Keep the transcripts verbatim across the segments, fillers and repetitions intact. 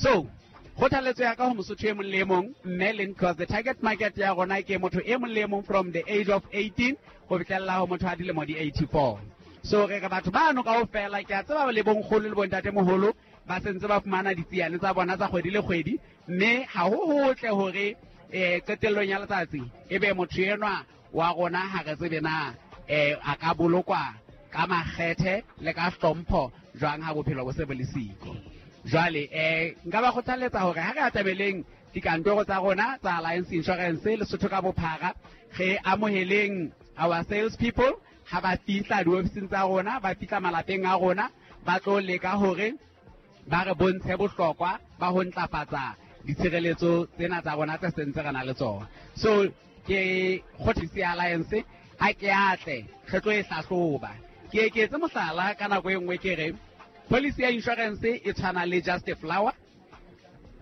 So kgothaletso ya ka ho Mosotho e mong le e mong, mme le, because the target market ya rona ke motho e mong le e mong from the age of eighteen ho fihlella ho motho a dilemo di eighty-four. So re re batho bano kaofela, ke a tseba le bonkgono le bontatemoholo ba sentse ba fumana ditsiane tsa bona tsa kgwedi le kgwedi, mme ha ho hotle hore um qetellong ya letsatsi e be motho enwa wa rona ha re tsebe na um a ka bolokwa ka makgethe le ka hlompho jwang ha bophelo bo se bo le siko. Jwale um nka ba kgothaletsa hore ha re atameleng dikantoro tsa rona tsa Alliance Insurance Lesotho ka bophara, re amoheleng our sales people ha ba fihla diofising tsa rona, ba fihla malapeng a rona, ba tlo leka hore ba re bontshe bohlokwa ba ho ntlafatsa ditshireletso tsena tsa rona tse sentse re na le tsona. So ke kgothisi Alliance ha ke atle re tlo e hlahloba. Ke eketse mohlala ka nako e nngwe ke re policy ya insurance e tshwana le just a flower.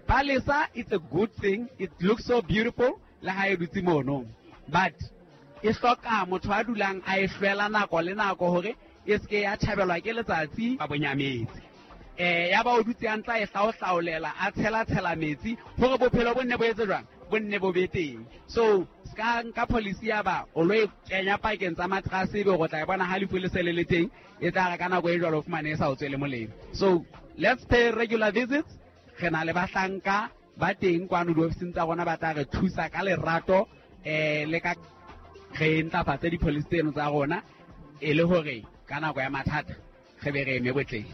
Palesa, it's a good thing, it looks so beautiful le ha e dutse mono, but e hloka motho a dulang a e hlwela nako le nako hore e seke ya tjhabelwa ke letsatsi ba bonyametse. Eh ya ba o dutse a ntla e hlaohlaolela, a tshela tshela metsi hore bophelo bo nne bo etse jwang, bo nne bo be teng. So ska nka policy ya ba o lo e kenya pakeng tsa matrase, ebe o tla e bona ha lefu le se le le teng, e tla re ka nako e jwalo o fumane e sa o tswele molemo. So let's pay regular visits. Re na le bahlanka ba teng kwano diofising tsa rona ba tla re thusa ka lerato eh le ka re ntlafatse di-policy tseno tsa rona e le hore ka nako ya mathata re be re eme botleng.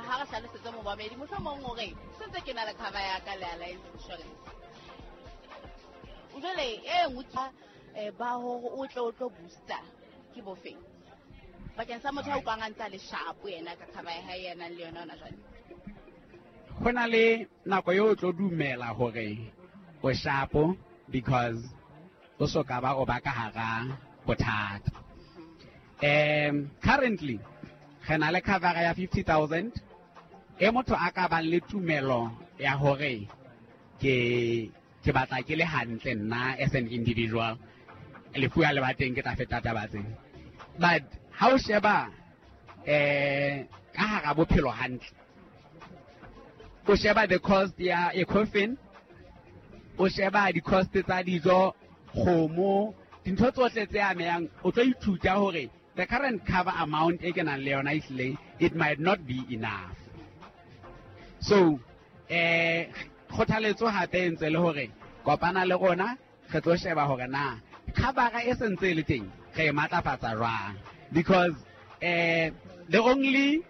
Ha re hlalosetse momamedi mohlomong hore sentse ke na le cover ya ka le Alliance Insurance, jwale e nngwe ke ba hore o tle o tlo booster ke bofeng bakeng sa motho a utlwang a ntse a le sharp yena ka cover ya hae ya nang le yona hona jwale? Ho na le nako eo o tlo dumela hore o sharp because o so ka ba o ba ka hara bothata. Um currently re na le cover ya fifty thousand e motho a ka bang le tumelo ya hore ke ke batla ke le hantle nna as an individual, lefu ha le ba teng ke tla feta taba tsena. But ha o sheba eh ka hara bophelo hantle, o sheba the cost ya a coffin, o sheba di-cost tsa dijo, kgomo, dintho tsohle tse amehang, o tlo ithuta hore the current cover amount e ke nang le yona ehlile it might not be enough. So eh kgothaletso hape e ntse le hore kopana le rona re tlo sheba hore na cover e sentse e le teng re e matlafatsa jwang, because eh the only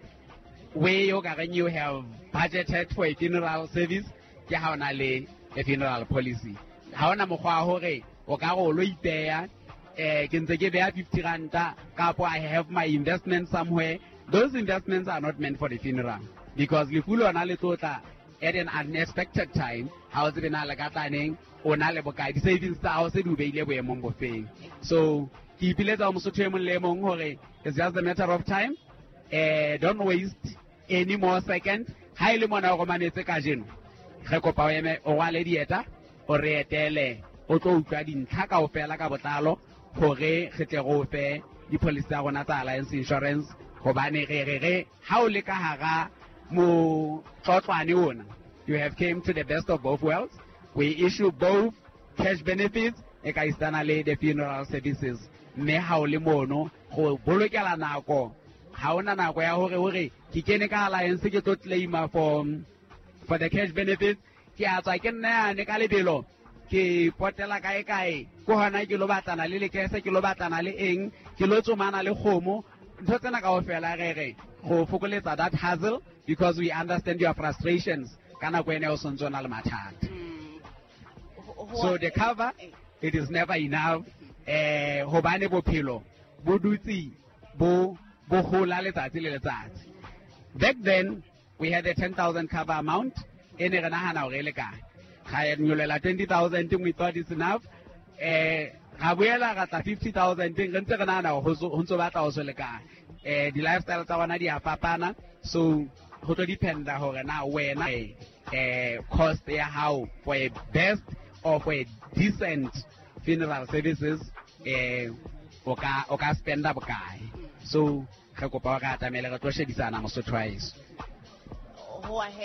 way o ka reng you have budgeted for a funeral service ke ha o na le a funeral policy. Ha ona mokgwa wa hore o ka re o lo ipeya eh ke ntse ke beya fifty ranta kapo I have my investment somewhere. Those investments are not meant for the funeral because lefu lona le tlo tla at an unexpected time. Ha o tsebe na le ka tla neng, o na le bokae, di-savings tsa hao se di o beile boemong bofeng. So ke ipiletsa ho Mosotho e mong le e mong hore it's just a matter of time. Eh don't waste any more second. Ha e le mona o romanetse kajeno, re kopa o eme o rwale dieta, o re etele, o tlo utlwa dintlha kaofela ka botlalo hore re tle re o fe di-policy tsa rona tsa Alliance Insurance, hobane re re re ha o le ka hara motlotlwane ona, you have came to the best of both worlds. We issue both cash benefits e ka isitana le the funeral services, mme ha o le mono go bolokela nako. Ha ona nako ya hore hore ke kene ka Alliance ke tlo claima for for the cash benefits, ke a tswa ke nna yane ka lebelo ke potela kae kae, ko hona ke lo batlana le lekese, ke lo batlana le eng, ke lo tsomana le kgomo. Ntho tsena kaofela re re go fokoletsa that hassle because we understand your frustrations ka nako ene o sontse o na le mathata. So the cover, it is never enough eh hobane bophelo bo dutse bo bo hola letsatsi le letsatsi. Back then we had a ten thousand cover amount e ne re nahana hore e lekane, ga nyolela twenty thousand, we thought it's enough. Eh ga boela ra tla fifty thousand, re ntse re nahana hore ho ntso batla ho se lekane. Eh di-lifestyle tsa rona di a fapana, so ho tlo dependa hore na wena eh cost ya hao for a best or for a decent funeral services eh o ka o ka spenda bokae. So re kopa hore atamele re tlo shebisana Mosotho wa heso. Ho a